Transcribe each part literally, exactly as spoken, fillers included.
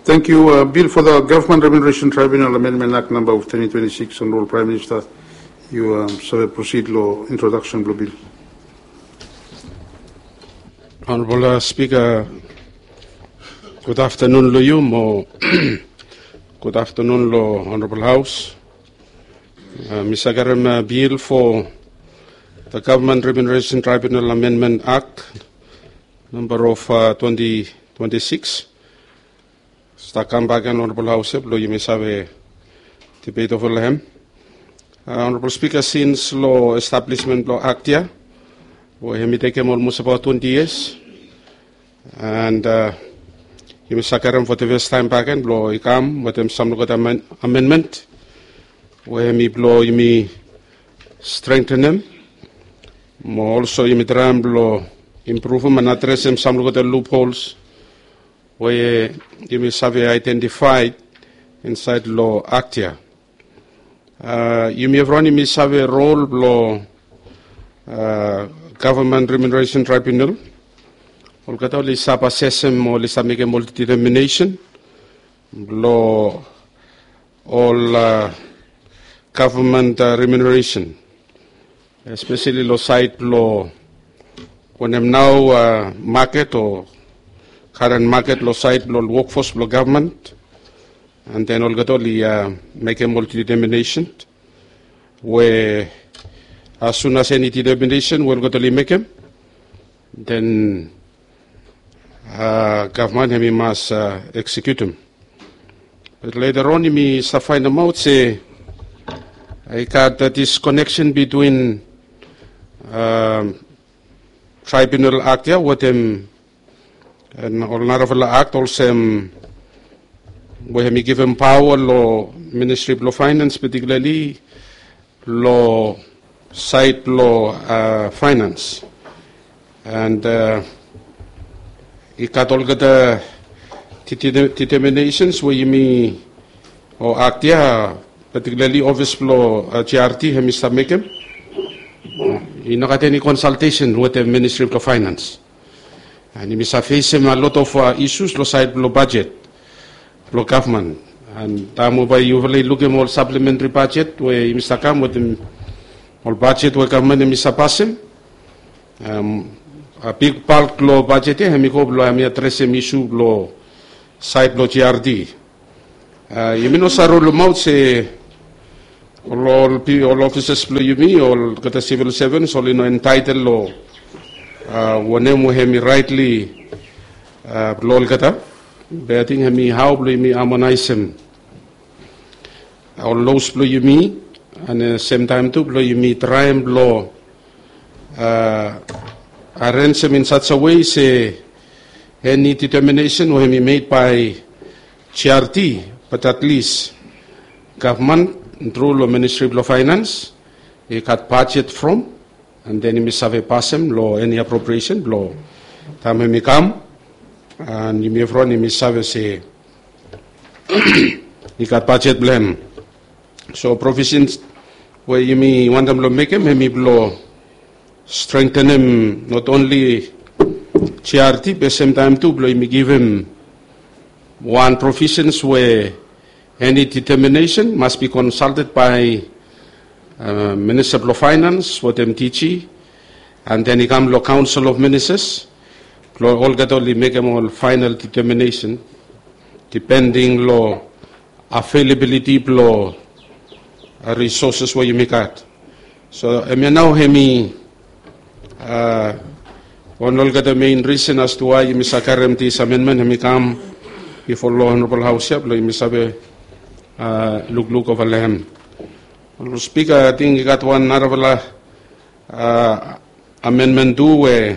Thank you. Bill for the Government Remuneration Tribunal Amendment Act number of twenty twenty-six, Honorable Prime Minister, yu save proceed lo introduction blo bill. Honorable Speaker, gud aftanun lo yu mo gud aftanun lo Honorable Haus. Mi save karem bill fo the Government Remuneration Tribunal Amendment Act number of twenty twenty-six. Stap kambak gen Honorable Haus ia blo yumi save debate ova lo hem. Honorable Speaker, sins lo establismen blo Act ia we hemi tekem olmos abaot twenty years, and yumi save karem fo the first time bakegen blo i kam wetem sam olgeta amendment we hemi blo yumi strengthenem mo also yumi traem blo impruvem and adresem sam olgeta loopholes we yumi save identify insaed lo Act ia. Yumi evriwan yumi save rol blo Government Remuneration Tribunal. Olgeta oli save asesem mo oli save mekem ol determination blo ol government remuneration, espeseli lo saed blo wanem nao maket o karen maket lo saed blo ol wokfos blo gavman. And then olgeta oli mekem ol determination we as soon as eni determination we olgeta oli mekem, then gavman hemi mas executem. But later on yumi save faenemaot se i gat that is connection between Tribunal Act ia wetem ol narafala Act olsem we hemi givim paoa lo Ministry blo Finance, particularly lo saed blo finance. And i gat olgeta determinations we yumi o Act ia, particularly office blo GRT hemi save mekem. I no gat eni consultation wetem Ministry blo Finance. And yumi save fesem a lot of issues lo saed blo budget blo gavman. And taem we bae yufala i lukim ol supplementary budget we yumi save kam wetem ol budget we gavman hemi save pasem, a big bulk lo budget ia hemi go blo hemi adresem issue blo saed blo GRT. Yumi no save rulemaot se ol ol officers blo yumi, olgeta civil servants oli no entitled lo wanem we hemi rightly blo olgeta. Be ating hemi hao blo yumi harmonaesem ol laws blo yumi, and semtaem tu blo yumi traem blo arenjem in such a way se eni determination we hemi made by GRT, but at least gavman tru lo Ministry blo Finance i gat budget from, and then yumi save pasem lo eni appropriation blo taem hemi kam, and yumi evriwan yumi save se i gat budget blo hem. So provisions we yumi wantem blo mekem hemi blo strengthenem not only GRT be semtaem tu blo yumi givim wan provisions we eni determination must be consulted by Minister blo Finance wetem DG, and then i kam lo Council of Ministers blo olgeta oli mekem ol final determination depending lo availability blo resources we yumi gat. So hemia nao hemi wan lo olgeta main reason as to why yumi save karem this amendment hemi kam bifo lo Honorable Haus ia blo yumi save lukluk ova lo hem. Honorable Speaker, ating i gat wan narafala amendment tu we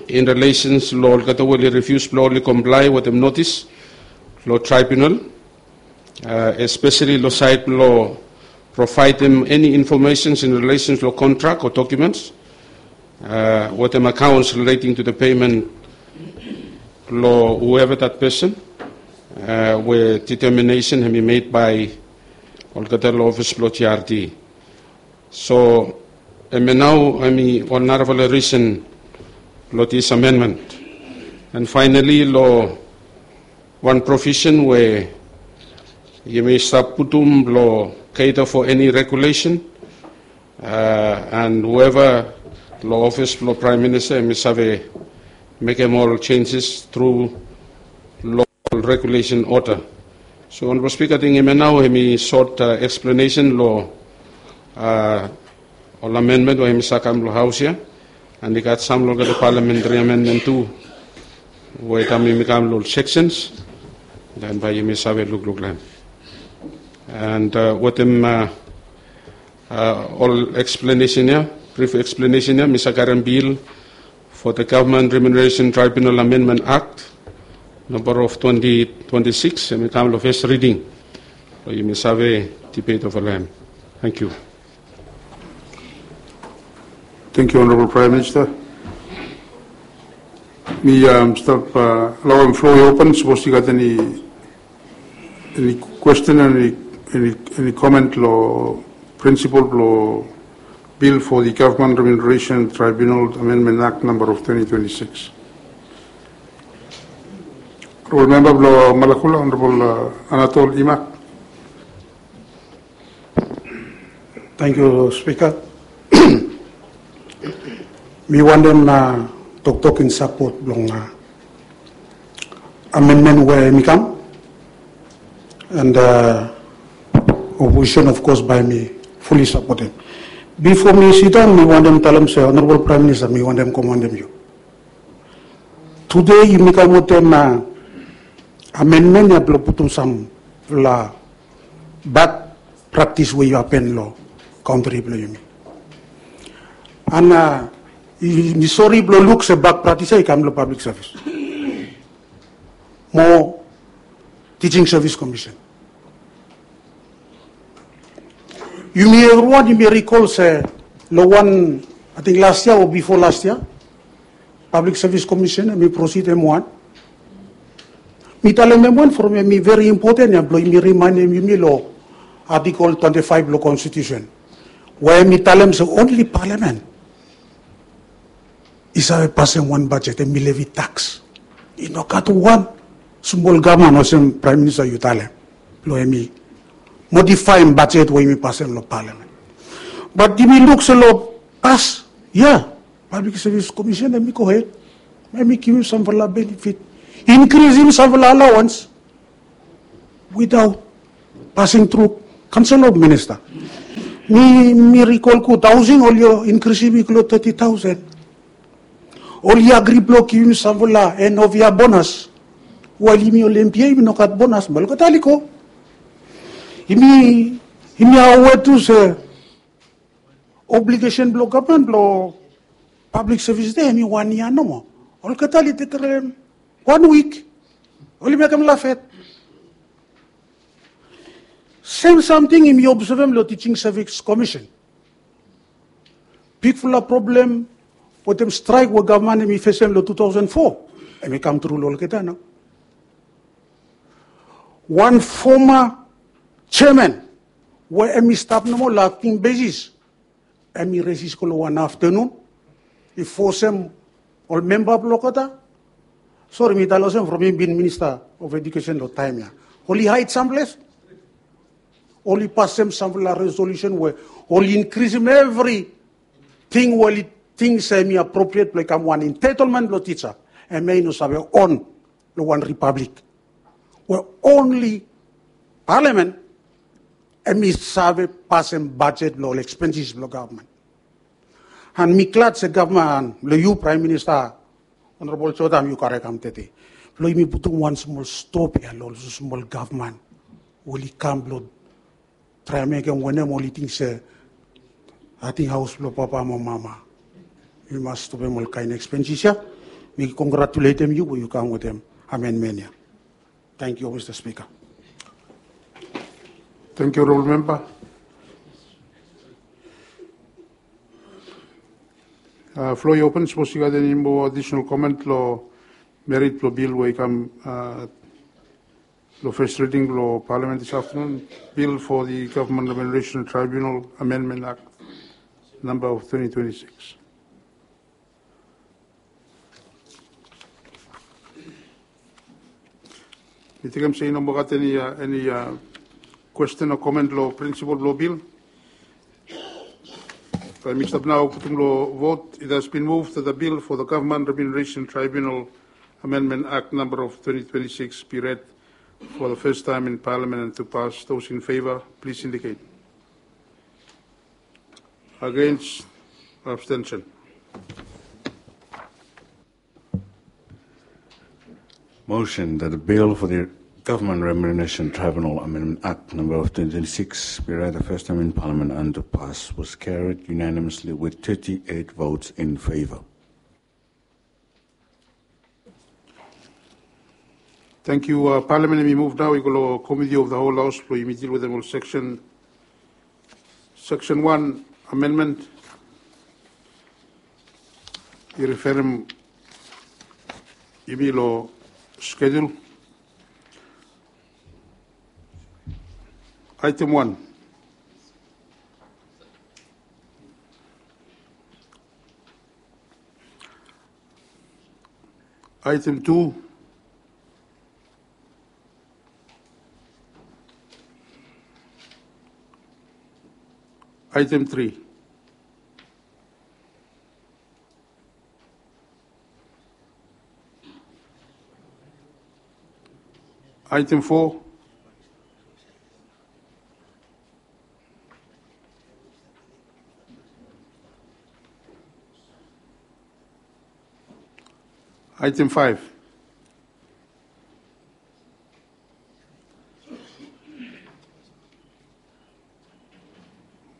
in relations lo olgeta we oli refuse blo oli comply wetem notice lo tribunal, especially lo saed blo providem eni informations in relations lo contract o documents wetem accounts relating to the payment lo whoever that person, we determination hemi made by olgeta lo office blo GRT. So hemia nao hemi wan narafala reason lo this amendment. And finally lo wan provisen we yumi stap putum blong cater for any regulation, and whoever long office blong Prime Minister yumi save mekem ol changes through long regulation order. So Honorable Speaker, ating hemia nao hemi sot explanation long ol amendment we hemi save kam long Haos ia, and i gat sam long olgeta parliamentary amendment tu we taem yumi kam long sections, then bae yumi save lukluk long hem. And wetem ol explanation ia, brief explanation ia, mi save karem bill for the Government Remuneration Tribunal Amendment Act number of twenty twenty-six, hemi kam long first reading. So yumi save debate over long hem. Thank you. Thank you, Honorable Prime Minister. Mi stap laoem floor i open, sapos i gat eni, eni question, eni, eni comment long principle blong bill for the Government Remuneration Tribunal Amendment Act number of twenty twenty-six. Honorable Member blong Malakula, Honorable Anatol Imak. Thank you, Speaker. Mi wantem toktok in support blong amendment we hemi kam. And opposition, of course, bae mi fully supportem. Bifo mi sidaon, mi wantem talem se Honorable Prime Minister, mi wantem komaontem yu. Tede yumi kam wetem amendment ia blong putum samfala bad practice we i hapen long kantri blong yumi. And mi sori blong luk se bad practice ia i kam long public service mo Teaching Service Commission. Yumi evriwan yumi recall se long wan, ating las yia o bifo las yia, Public Service Commission hemi proceed hem wan. Mi talem hem wan from hemi very important ia blong yumi remaenem yumi long Article twenty five long Constitution, we hemi talem se only Parliament i save pasem wan budget, hemi levy tax. I no gat wan smol gavman olsem Prime Minister yu talem blong hemi modifaem budget we yumi pasem long Parliament. But yumi luk se long pas yia, Public Service Commission hemi gohed, hemi givim samfala benefit, inkrisim samfala allowance without passing through Council of Minister. Mi, mi recall gud, housing oli inkrisim i go long thirty thousand. Oli agri blong givim samfala end of year bonus. Wael yumi ol M P A yumi no gat bonus, mo olgeta oli go. Yumi, yumi aware tu se obligation blong gavman blong public service de hemi wan yia nomo. Olgeta oli tekem wan wik, oli mekem lafet. Sem samting yumi obsevem long Teaching Service Commission. Bigfala problem wetem straek we gavman hemi fesem long two thousand four, hemi kam tru long olgeta nao. Wan foma jeaman we hemi stap nomo long akting besis, hemi resis go long wan aftenun, i fosem ol memba blong olgeta. Sori, mi talem olsem from mi bin Minister of Education long taem ya, oli haed samples. Oli pasem samfala resolution we oli inkrisim evriting we oli ting se hemi appropriate blong i kam wan entitlement blong tija. Hemia i no save on long wan republic we only Parliament hemi save pasem bajet blong ol expenses blong gavman. And mi glad se gavman, long yu Prime Minister, Honorable Jotham, yu karem kam tede blong yumi putum wan smol stop ya long ol smol gavman we oli kam blong traem mekem wanem oli ting se, ating haos blong papa mo mama. Yumi mas stopem ol kaen expenses ya. Mi kongratuletem yu we yu kam wetem amendment ya. Tangkiu, Mista Spika. Tangkiu, Honorable Member. Floor i open, sapos i gat eni moa additional comment long merit blong bil we i kam long first reading blong Parliament this afternoon, Bill for the Government Remuneration Tribunal Amendment Act number of twenty twenty-six. Mi tekem se i no moa gat eni, uh, eni uh, question o comment lo principle lo bill. Bae mi stap nao putum lo vote. It has been moved that the bill for the Government Remuneration Tribunal Amendment Act number of twenty twenty-six be read for the first time in Parliament and to pass. Those in favor, please indicate. Against, abstention. Motion that the bill for the Government Remuneration Tribunal Amendment Act number of twenty twenty-six be read the first time in Parliament and to pass was carried unanimously with thirty-eight votes in favor. Thank you. Uh, Parliament, yumi move nao i go lo Committee of the Whole House blo yumi deal wetem ol section, section one amendment. I referem yumi lo schedule. Item one. Item two. Item three. Item four. Item five.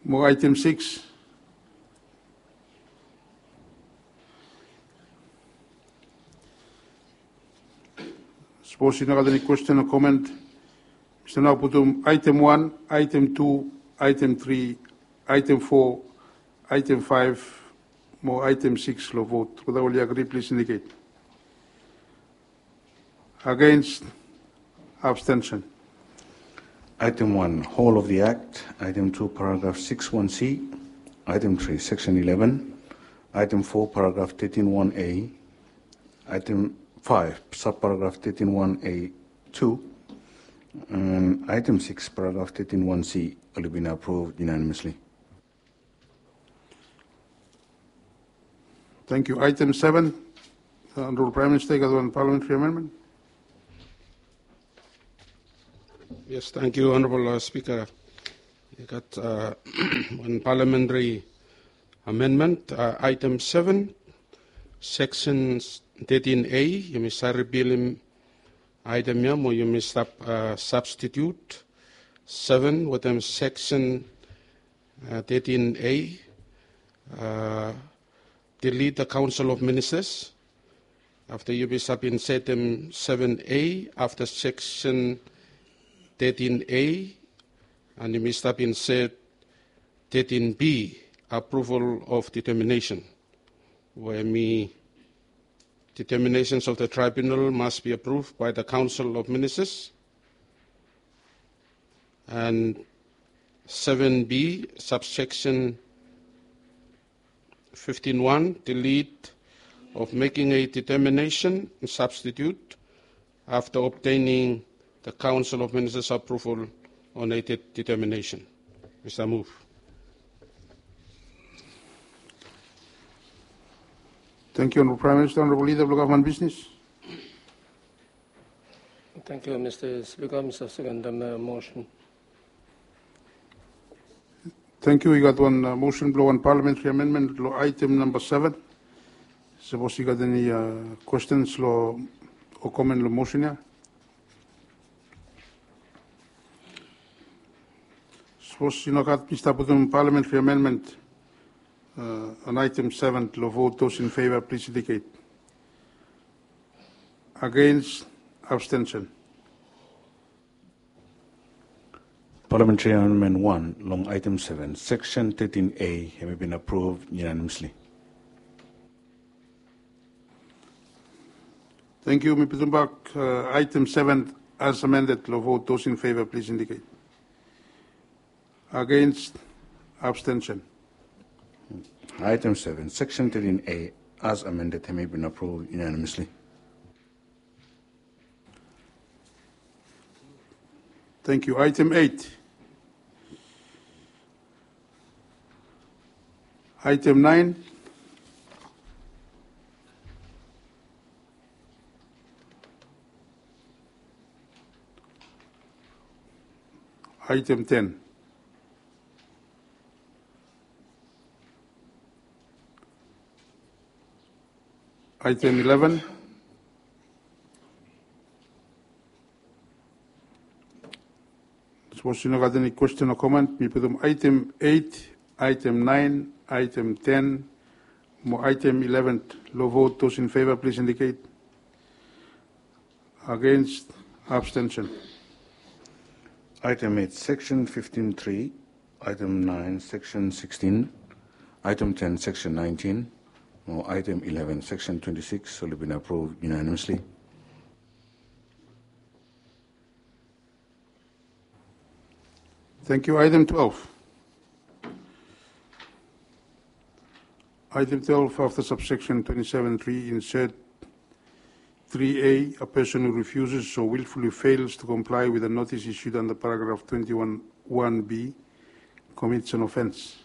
Mo item six. Sapos i no gat eni question o comment, mi stap nao putum item one, item two, item three, item four, item five, mo item six lo vote. Weta oli agree, please indicate. Against, abstention. Item one, whole of the Act. Item two, paragraph six one C. Item three, section eleven. Item four, paragraph thirteen one A. Item five, subparagraph thirteen one A two. And item six, paragraph thirteen one C, oli bin approved unanimously. Thank you. Item seven, uh, Honorable Prime Minister, i gat wan parliamentary amendment. Yes, thank you, Honorable, uh, Speaker. I gat, uh, wan parliamentary amendment, uh, item seven, section thirteen A, yumi save ripilim item ia mo yumi stap, uh, substitute seven wetem section, uh, thirteen A, uh, delete the Council of Ministers. Afta yumi stap insetem seven A afta section thirteen A, and yumi stap inset thirteen B, approval of determination, we hemi determinations of the tribunal must be approved by the Council of Ministers. And seven B, subsection fifteen one, delete of making a determination, substitute, after obtaining the Council of Ministers approval on a de-, determination. Mr. Move. Thank you, Honorable Prime Minister. Honorable Leader of Government Business. Thank you, Mr. Speaker. Mi save sekem, uh, motion. Thank you. I gat wan, uh, motion blong wan parliamentary amendment lo item namba seven. Sapos i gat eni, uh, questions lo, o comment lo motion ia? Sapos i nogat, mi stap putum parliamentary amendment, uh, on item seven lo vote. Those in favor, please indicate. Against, abstention. Parliamentary Amendment one long item seven, section thirteen A, hemi bin approved unanimously. Thank you. Mi putum bak, uh, item seven as amended lo vote. Those in favor, please indicate. Against, abstention. Item seven, section thirteen A as amended, hemi bin approved unanimously. Thank you. Item eight. Item nine. Item ten. Item eleven. Sapos i no gat eni kwestin o comment, mi putum item eight, item nine, item ten, mo item eleven long vote. Those in favor, please indicate. Against, abstention. Item eight, section fifteen three, item nine, section sixteen, item ten, section nineteen, mo item eleven, section twenty-six, oli bin approve unanimously. Thank you. Item twelve. Item twelve, after subsection twenty-seven three, insert three A, a person who refuses or willfully fails to comply with a notice issued under paragraph twenty-one one B commits an offense.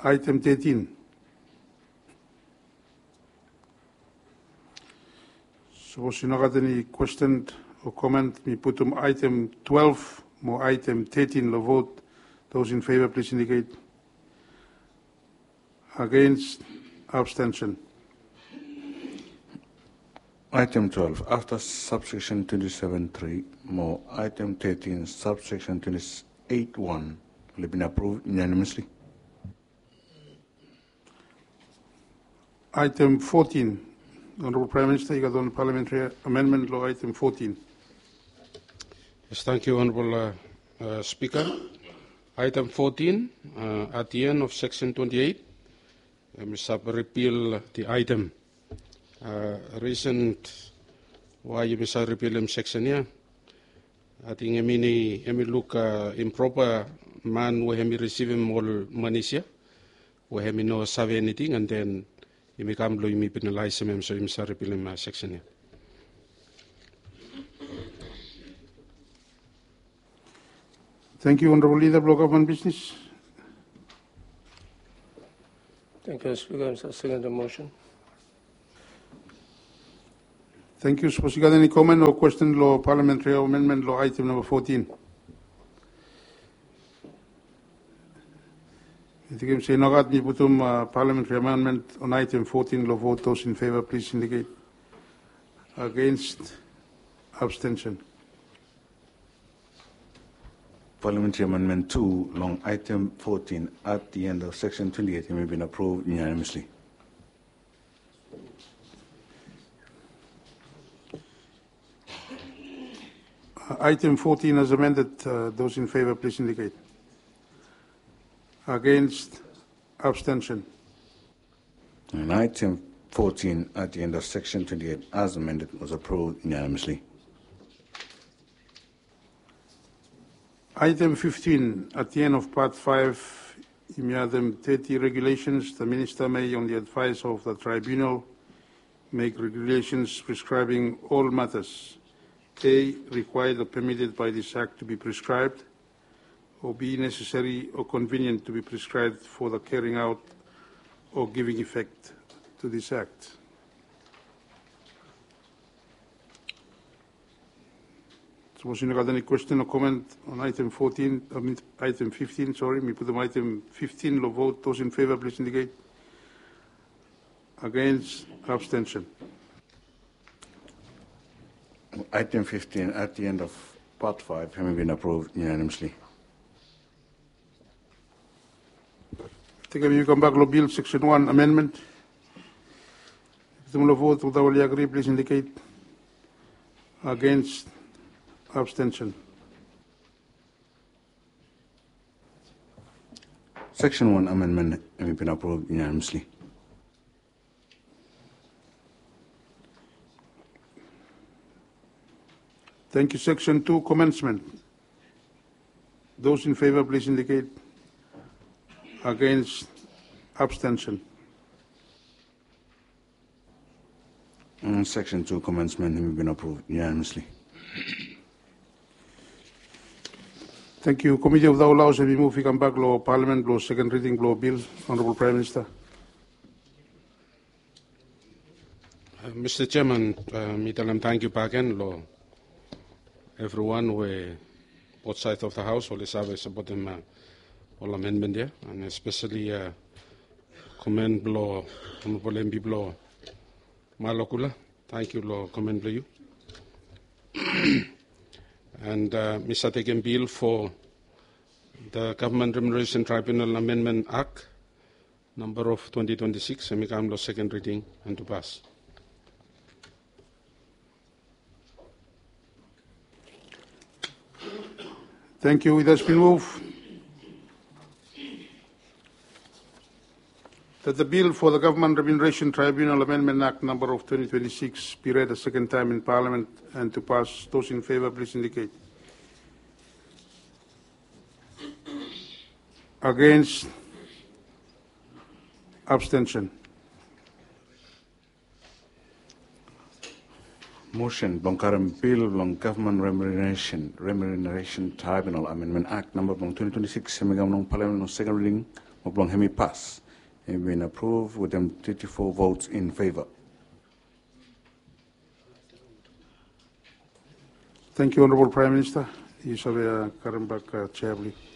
Item thirteen. Sapos i no gat eni kwestin o comment, mi putum item twelve mo item thirteen long vote. Those in favor, please indicate. Against, abstention. Item twelve, after subsection twenty-seven three mo item thirteen, subsection twenty-eight one, oli bin approve unanimously. Item fourteen. Honorable Prime Minister, i gat wan parliamentary amendment long item fourteen. Yes, thank you, Honorable uh, uh, Speaker. Item fourteen, uh, at the end of section twenty-eight, yumi save repeal the item. Uh, reason why yumi save repealim section ia, ating hemi, hemi luk uh, improper man we hemi risivim ol manis ia, we hemi no save eniting, and then yumi kam blong yumi penalaisim hem, so yumi save repealim uh, section ia. Thank you, Honorable Leader blong Gavman Bisnis. Thank you, Speaker. I second the motion. Thank you. Sapos i gat eni comment o kwestin long parliamentary amendment long item number fourteen? I ting hemi se i no gat, mi putum uh, parliamentary amendment on item fourteen long vote. Those in favor, please indicate. Against, abstention. Parliamentary Amendment two long item fourteen at the end of section twenty-eight, hemi bin approve unanimously. Uh, item fourteen as amended, uh, those in favor, please indicate. Against, abstention. And item fourteen at the end of section twenty-eight as amended was approved unanimously. Item fifteen, at the end of part five, yumi addem thirty regulations. The minister may, on the advice of the tribunal, make regulations prescribing all matters. A, required or permitted by this act to be prescribed, or B, necessary or convenient to be prescribed for the carrying out or giving effect to this act. Sapos i no gat eni kwestin o comment on item fourteen, I mean, item fifteen, sorry, mi putum item fifteen long vote. Those in favor, please indicate. Against, abstention. Item fifteen at the end of part five, hemi bin approved unanimously. Takem yumi kambak long bill, section one amendment. Putum long vote, olgeta we oli agree, please indicate. Against, abstention. Section one amendment hemi bin approved unanimously. Thank you. Section two, commencement. Those in favor, please indicate. Against, abstention. Mm, Section two commencement hemi bin approve unanimously. Thank you. Committee of the House hemi move i kambak lo Parliament blo second reading blo bill. Honorable Prime Minister. Uh, Mr. Chairman, uh, mi talem thank you back again lo everyone we both side of the house oli save supportem uh, ol amendment ia, and especially uh, comment blo Honorable M P blo Malokula. Thank you lo comment blo you. And uh, Mr. Tekem bill for the Government Remuneration Tribunal Amendment Act number of twenty twenty-six, hemi kam lo second reading and to pass. Thank you. It has been moved that the bill for the Government Remuneration Tribunal Amendment Act number of twenty twenty-six be read a second time in Parliament and to pass. Those in favor, please indicate. Against? Abstention? Motion blong karem bill blong Government Remuneration, Remuneration Tribunal Amendment Act namba blong twenty twenty-six hemi kam long Parliament long second reading mo blong hemi pas. Hemi bin approve wetem thirty-four votes in favor. Thank you, Honorable Prime Minister. Yu save uh, karem bak uh, chair, please.